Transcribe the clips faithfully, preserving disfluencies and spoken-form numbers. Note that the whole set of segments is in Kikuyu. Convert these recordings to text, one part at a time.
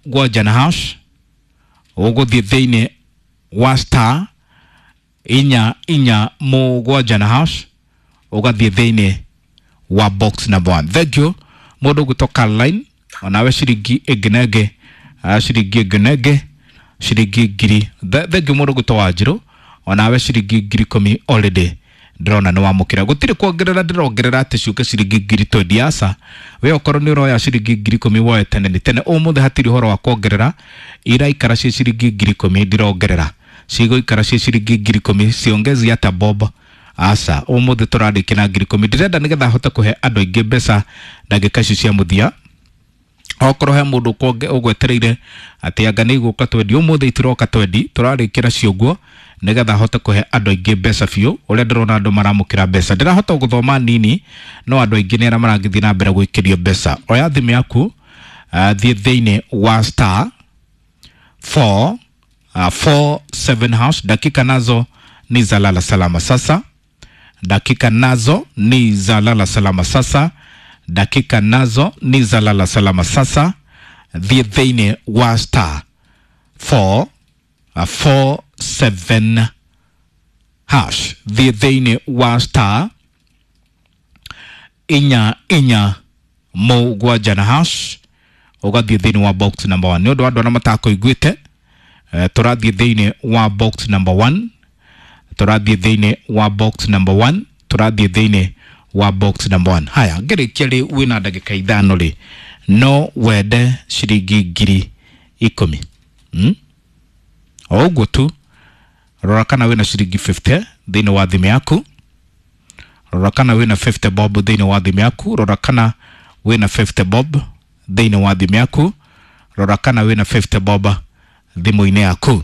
mũgwanja na hash, ũgũthiĩ thĩinĩ wa star inya inya mũgwanja na hash, ũgathiĩ thĩinĩ wa box number one. Thank you mũndũ ũgwĩtwo Caroline, onawe ciringi ĩngĩ na ĩngĩ, ah, ciringi ĩngĩ na ĩngĩ ciringi ngiri. Thank you mũndũ ũgwĩtwo Wanjirũ, onawe ciringi ngiri ikũmi already ndĩrona nĩ wamũkĩra. Gũtirĩ kuongerera ndĩrongerera atĩ ciũke ciringi ngiri twendi, aca. We okorwo nĩ ũroya ciringi ngiri ikũmi woe tene nĩ tene. Ũmũthĩ hatirĩ ũhoro wa kuongerera, iraikara ciĩ ciringi ngiri ikũmi, ndirongerera, cigũikara ciĩ ciringi ngiri ikũmi, ciongezi hata bob, aca. Ũmũthĩ tũrarĩkia na ngiri ikũmi. Ndĩrenda nĩgetha hote kũhe andũ aingĩ mbeca ndagĩka icio cia mũthia. Okorwo he mũndũ ũgwetereire atĩ anga nĩ igũka twendi, ũmũthĩ itiroka twendi, tũrarĩkĩra cio nĩgetha hote kũhe andũ aingĩ mbeca biũ. Ũrĩa ndĩrona andũ maramũkĩra mbeca, ndĩrahota gũthoma nini, no andũ aingĩ nĩ arĩa maragĩthiĩ na mbere gwĩkĩrio mbeca. Oya thimũ yaku, uh, thiĩ thĩinĩ wa star four uh, four seven hash. Dakika nazo ni za lala salama sasa, dakika nazo ni za lala salama sasa, dakika nazo ni za lala salama sasa. Thiĩ thĩinĩ wa star four uh, four seven hash, thiĩ thĩinĩ wa star inya inya mũgwanja na hash, ũgathiĩ thĩinĩ wa box number one. Nĩ ũndũ wa andũ arĩa matakũiguĩte, eh, tũrathiĩ thĩinĩ wa box number one, tũrathiĩ thĩinĩ wa box number one, tũrathiĩ thĩinĩ wa box number one. Haya, ngĩrĩkia rĩ, wĩna ndagĩka ithano rĩ, no wende ciringi ngiri ikũmi, hmm? O ũguo tu, rora kana wĩna ciringi fifty thĩinĩ wa thimũ yaku, rora kana wĩna fifty bob thĩinĩ wa thimũ yaku, rora kana wĩna fifty bob thĩinĩ wa thimũ yaku, rora kana wĩna fifty bob thimũ-inĩ yaku.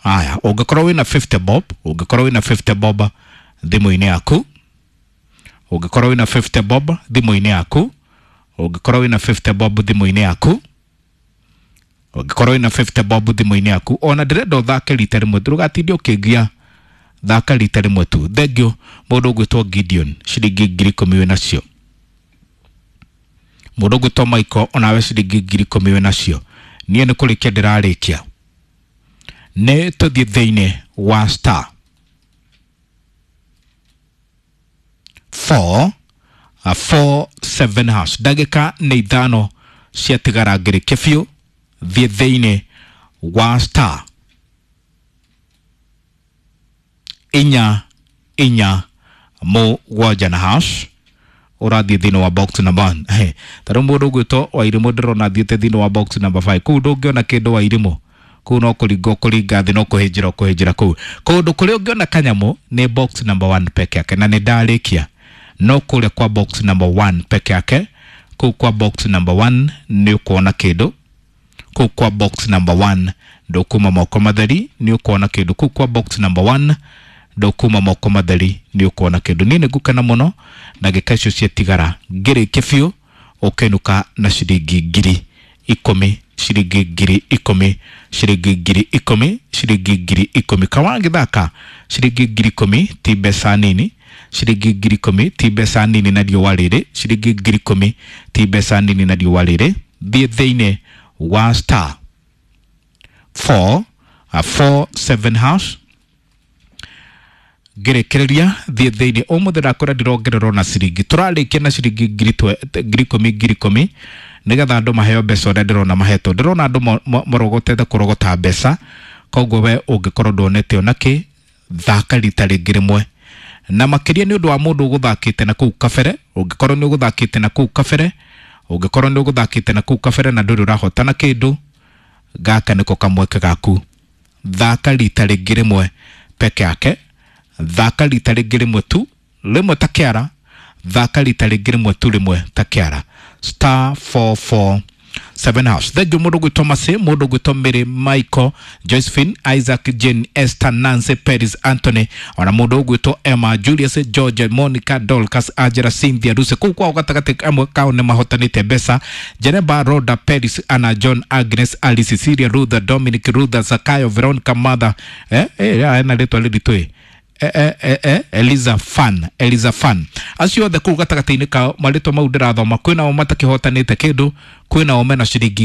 Haya, ũngĩkorwo wĩna fifty bob, ũngĩkorwo wĩna fifty bob thimũ-inĩ yaku, ũngĩkorwo wĩna fifty bob thimũ-inĩ yaku, ũngĩkorwo wĩna fifty bob thimũ-inĩ yaku, ũngĩkorwo wĩna fifty bob thimũ-inĩ yaku, ona ndĩrenda ũthake rita rĩmwe, ndũgatinde ũkĩngia, thaka rita rĩmwe tu. Thank you mũndũ ũgwĩtwo Gideon, ciringi ngiri ikũmi wĩ nacio. Mũndũ ũgwĩtwo Michael, onawe ciringi ngiri ikũmi wĩ nacio. Niĩ nĩ kũrĩkia ndĩrarĩkia, nĩ tũthiĩ thĩinĩ wa star four uh, four seven hash. Ndagĩka nĩ ithano ciatigara ngĩrĩkie biũ. Thiĩ thĩinĩ wa star inya inya mũgwanja na hash, ũrathiĩ thĩinĩ wa box number one. He, ta rĩu mũndũ ũgwĩtwo Wairimũ ndĩrona athiĩte thĩinĩ wa box number five. Kũu ndũngĩona kĩndũ Wairimũ, kũu no kũringa ũkũringa thĩ, no kũhĩnjĩra ũkũhĩnjĩra kũu. Kũndũ kũrĩa ũngĩona kanyamũ nĩ box number one peke yake, na nĩ ndarĩkia no kũrĩa kwa box number one peke yake. Kũu kwa box number one nĩ ũkuona kĩndũ, kũu kwa box number one ndũkuma moko matheri, nĩ ũkuona kĩndũ. Kũu kwa box number one ndũkuma moko matheri, nĩ ũkuona kĩndũ. Niĩ nĩ ngũkena mũno ndagĩka icio ciatigara ngĩrĩkie biũ, ũkenũka na ciringi ngiri ikũmi, ciringi ngiri ikũmi, ciringi ngiri ikũmi, ciringi ngiri ikũmi. Kawagĩthaka ciringi ngiri ikũmi ti mbeca nini, ciringi ngiri ikũmi ti mbeca nini na riũa rĩrĩ, ciringi ngiri ikũmi ti mbeca nini na riũa rĩrĩ. Thiĩ thĩinĩ wa star four uh, four seven hash, ngĩrĩkĩrĩria thiĩ thĩinĩ. Ũmũthĩ ndakũra ndirongererwo na ciringi, tũrarĩkia na ciringi ngiri ngiri ikũmi ngiri ikũmi nĩgetha andũ maheo mbeca ũrĩa ndĩrona mahetwo. Ndĩrona andũ marogotete kũrogota mbeca, koguo we ũngĩkorwo ndwonete ona kĩ, thaka rita rĩngĩ rĩmwe, na makĩria nĩ ũndũ wa mũndũ ũgũthakĩte na kũu kabere. Ũngĩkorwo nĩ ũgũthakĩte na kũu kabere, ũngĩkorwo nĩ ũgũthakĩte na kũu kabere na ndũrĩ ũrahotana kĩndũ, gaka nĩko kamweke gaku. Thaka rita rĩngĩ rĩmwe peke yake, thaka rita rĩngĩ rĩmwe tu, rĩmwe ta kĩara, thaka rita rĩngĩ rĩmwe tu, rĩmwe ta kĩara, star four four seven hash. Thank you mũndũ gwĩtwo Masi, mũndũ gwĩtwo Mary, Michael, Josephine, Isaac, Jane, Esther, Nancy, Paris, Anthony, ona mũndũ ũgwĩtwo Emma, Julius, George, Monica, Dorcas, Angela, Cynthia, Lucy. Kũu kwao gatagatĩ amwe kao nĩ mahotanĩte mbeca. Jeneba, Rhoda, Paris, Anna, John, Agnes, Alice, Cecilia, Rutha, Dominic, Rutha, Zakayo, Veronica, Mother, eh eh ena rĩtwa rĩritũ ĩ E, e, e, Eliza Fan, Eliza Fan. Acio othe kũu gatagatĩ-inĩ kao marĩtwa mau ndĩrathoma, kwĩna o matakĩhotanĩte kĩndũ, kwĩna o mena ciringi